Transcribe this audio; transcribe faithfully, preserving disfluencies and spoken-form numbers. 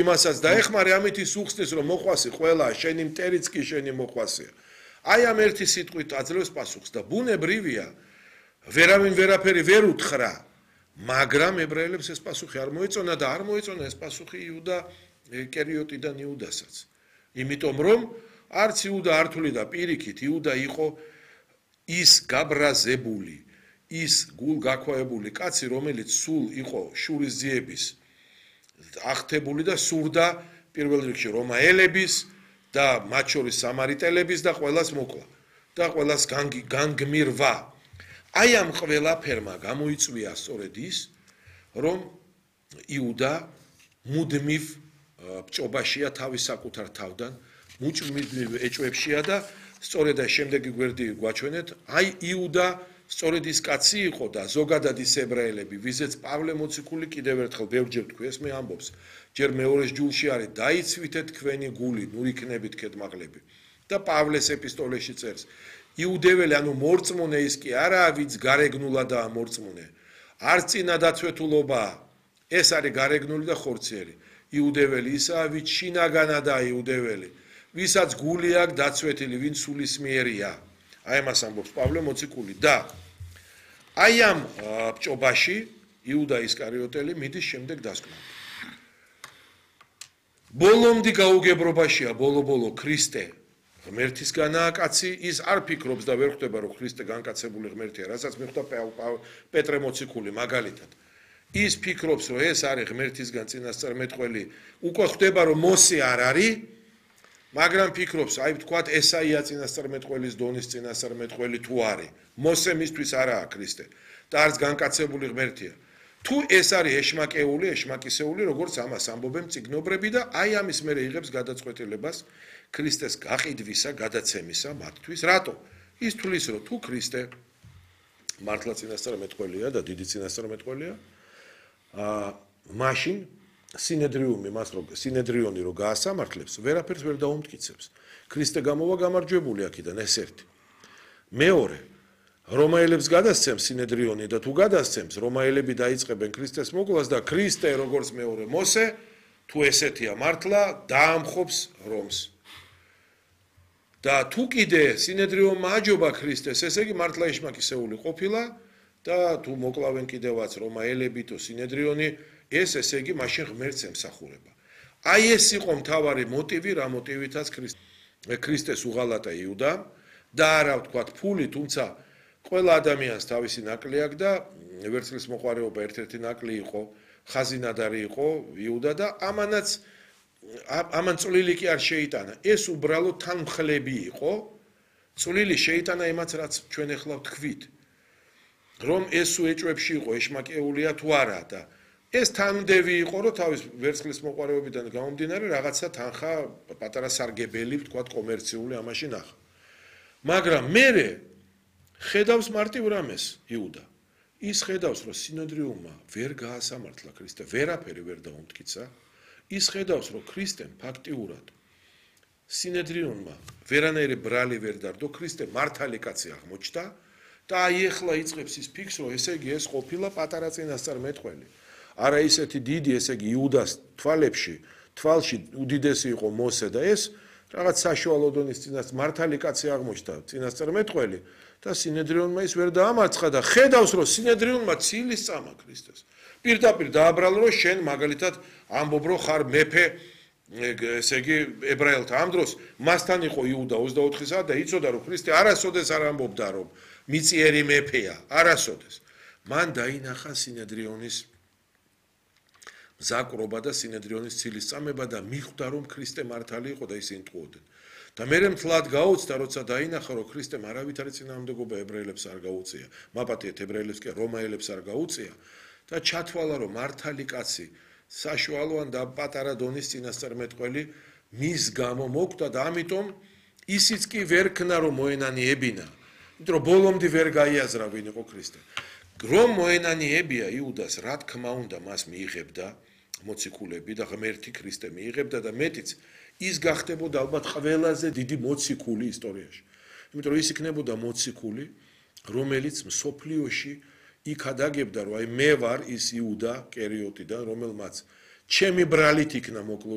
იმასაც დაეხმარე ამით ის უხსნის რომ მოყვასი ყველა შენი მტერიც კი შენი მოყვასია. აი ამ ერთი სიტყვით აძლევს პასუხს და ბუნებრივია ვერავინ ვერაფერი ვერ უთხრა, მაგრამ ებრაელებს ეს პასუხი არ მოეწონა და არ მოეწონა ეს პასუხი იუდა კერიოტიდან იუდასაც. იმიტომ რომ არც იუდა არ თვლიდა პირიქით, იუდა იყო ის გაბრაზებული, ის გულგაქვეებული კაცი, რომელიც სულ იყო შურისძიების აღთებული და სურდა პირველ რიგში რომაელების და მათ შორის სამარიტელების და ყველას მოკლა და ყველას განგმირვა. აი ამ ყველაფერმა გამოიწვია სწორედ ის, რომ იუდა მუდმივ ბჭობაშია თავის საკუთარ თავდან, მუდმივ ეჭვებშია და სწორედ აი შემდეგი გვერდი გვაჩვენეთ, აი იუდა სწორედ ის კაცი იყო და ზოგადად ის ებრაელები, ვიზეც პავლე მოციქული კიდევ ერთხელ ბევრჯერ თქვი ეს მე ამბობს, ჯერ მეორეს ჯულში არის დაიცვითეთ თქვენი გული, ნუ იქნებით ქედმაღლები. და პავლეს ეპისტოლეში წერს, იუდეველი, ანუ მორწმუნე ის კი არაა, ვინც გარეგნულადაა მორწმუნე. არც წინა დაცვეთულობა, ეს არის გარეგნული და ხორციელი. იუდეველი ისაა, ვინც შინაგანადაა იუდეველი, ვისაც გული აქვს დაცვეთილი, ვინც სულისმიერია. აი ამას ამბობს პავლე მოციქული და აი ამ ბჭობაში იუდა ისკარიოტელი მიდის შემდეგ დასკვნამდე. ბოლომდე გაუგებრობაშია ბოლო-ბოლო ქრისტე ღმერთისგანაა კაცი, ის არ ფიქრობს და ვერ ხვდება რომ ქრისტე განკაცებული ღმერთია, რასაც მიხვდა პეტრე მოციქული მაგალითად. ის ფიქრობს რომ ეს არის ღმერთისგან წინასწარმეტყველი, უკვე ხვდება რომ მოსე არ არის, მაგრამ ფიქრობს, აი ვთქვათ, ესაია წინასწარმეტყველის დონის წინასწარმეტყველი თუ არის, მოსე მისთვის არაა ქრისტე და არც განკაცებული ღმერთია. თუ ეს არის ეშმაკეული, ეშმაკისეული, როგორც ამას ამბობენ წიგნობრები და აი ამის მერე იღებს გადაწყვეტილებას ქრისტეს გაყიდვისა, გადაცემისა მათთვის. რატო? ის თulis რომ თუ ქრისტე მართლა წინასწარმეტყველია და დიდი წინასწარმეტყველია, აა მაშინ სინედრიუმი მას რო სინედრიონი რო გაასამართლებს, ვერაფერს ვერ დაუმტკიცებს. ქრისტე გამოვა გამარჯვებული აქედან ეს ერთი. მეორე, რომაელებს გადასცემს სინედრიონი და თუ გადასცემს, რომაელები დაიწყებენ ქრისტეს მოკვლას და ქრისტე როგორც მეორე მოსე, თუ ესეთია მართლა, დაამხობს რომს. და თუ კიდე სინედრიონმა აჯობა ქრისტეს, ესე იგი მართლა ეშმაკისეული ყოფილა და თუ მოკლავენ კიდევაც რომაელები თუ სინედრიონი, ეს ესე იგი მაშინ ღმერთს ემსახურება. აი ეს იყო მთავარი მოტივი, რა მოტივითაც ქრისტეს უღალატა იუდა და არა ვთქვათ ფული, თუმცა ყველა ადამიანს თავისი ნაკლი აქვს და ვერცხლის მოყვარეობა ერთ-ერთი ნაკლი იყო, ხაზინადარი იყო იუდა და ამანაც ამან წვლილი კი არ შეიტანა. ეს უბრალოდ თანმხლები იყო, წვლილი შეიტანა იმაც რაც ჩვენ ახლა ვთქვით, რომ ეს სულ ეჭვებში იყო, ეშმაკეულია თუ არა და ეს თანმდევი იყო, რომ თავის ვერცხლის მოყვარეობიდან გამომდინარე რაღაცა თანხა პატარა სარგებელი, ვთქვათ, კომერციული ამაში ნახა. მაგრამ მერე ხედავს მარტივ რამეს იუდა. ის ხედავს, რომ სინედრიუმმა ვერ გაასამართლა ქრისტე, ვერაფერი ვერ დაუმტკიცა. ის ხედავს, რომ ქრისტემ ფაქტიურად სინედრიონმა ვერანაირი ბრალი ვერ დარდო, ქრისტე მართალი კაცი აღმოჩნდა და აი ეხლა იწყებს ის ფიქს, რომ ესე იგი ეს ყოფილა პატარა წინასწარმეტყველი. არა ისეთი დიდი, ესე იგი იუდას თვალებში, თვალში უდიდესი იყო მოსე და ეს რაღაც საშუალო დონის წინასწარ მართალი კაცი აღმოჩნდა წინასწარმეტყველი და სინედრიონმა ის ვერ დაამარცხა და ხედავს, რომ სინედრიონმა ცილის წამა ქრისტეს. პირდაპირ დააბრალა, რომ შენ მაგალითად ამბობ, რომ ხარ მეფე, ესე იგი ებრაელთა ამ დროს მასთან იყო იუდა ოცდაოთხი საათი და იცოდა, რომ ქრისტე არასოდეს არ ამბობდა, რომ მიწიერი მეფეა, არასოდეს. მან დაინახა სინედრიონის მზაკრობა და სინედრიონის ცილის წამება და მიხვდა, რომ ქრისტე მართალი იყო და ისინი ტყუოდნენ. და მერე მთლად გაუცდა, როცა დაინახა, რომ ქრისტემ არავითარი წინააღმდეგობა ებრაელებს არ გაუწია, მაპატიეთ ებრაელებს კი რომაელებს არ გაუწია და ჩათვალა, რომ მართალი კაცი საშუალო ან და პატარა დონის წინასწარმეტყველი მის გამო მოკვდა და ამიტომ ისიც კი ვერ ქნა, რომ მოენანიებინა. იმიტომ რომ ბოლომდე ვერ გაიაზრა ვინ იყო ქრისტე. რომ მოენანიებია იუდას, რა თქმა უნდა მას მიიღებდა მოციქულები და ღმერთი ქრისტე მიიღებდა და მეტიც ის გახდებოდა ალბათ ყველაზე დიდი მოციქული ისტორიაში. იმიტომ რომ ის იქნებოდა მოციქული, რომელიც მსოფლიოში იქ ადაგებდა, რომ აი მე ვარ ის იუდა კერიოტიდან, რომელმაც ჩემი ბრალით იქნა მოკლული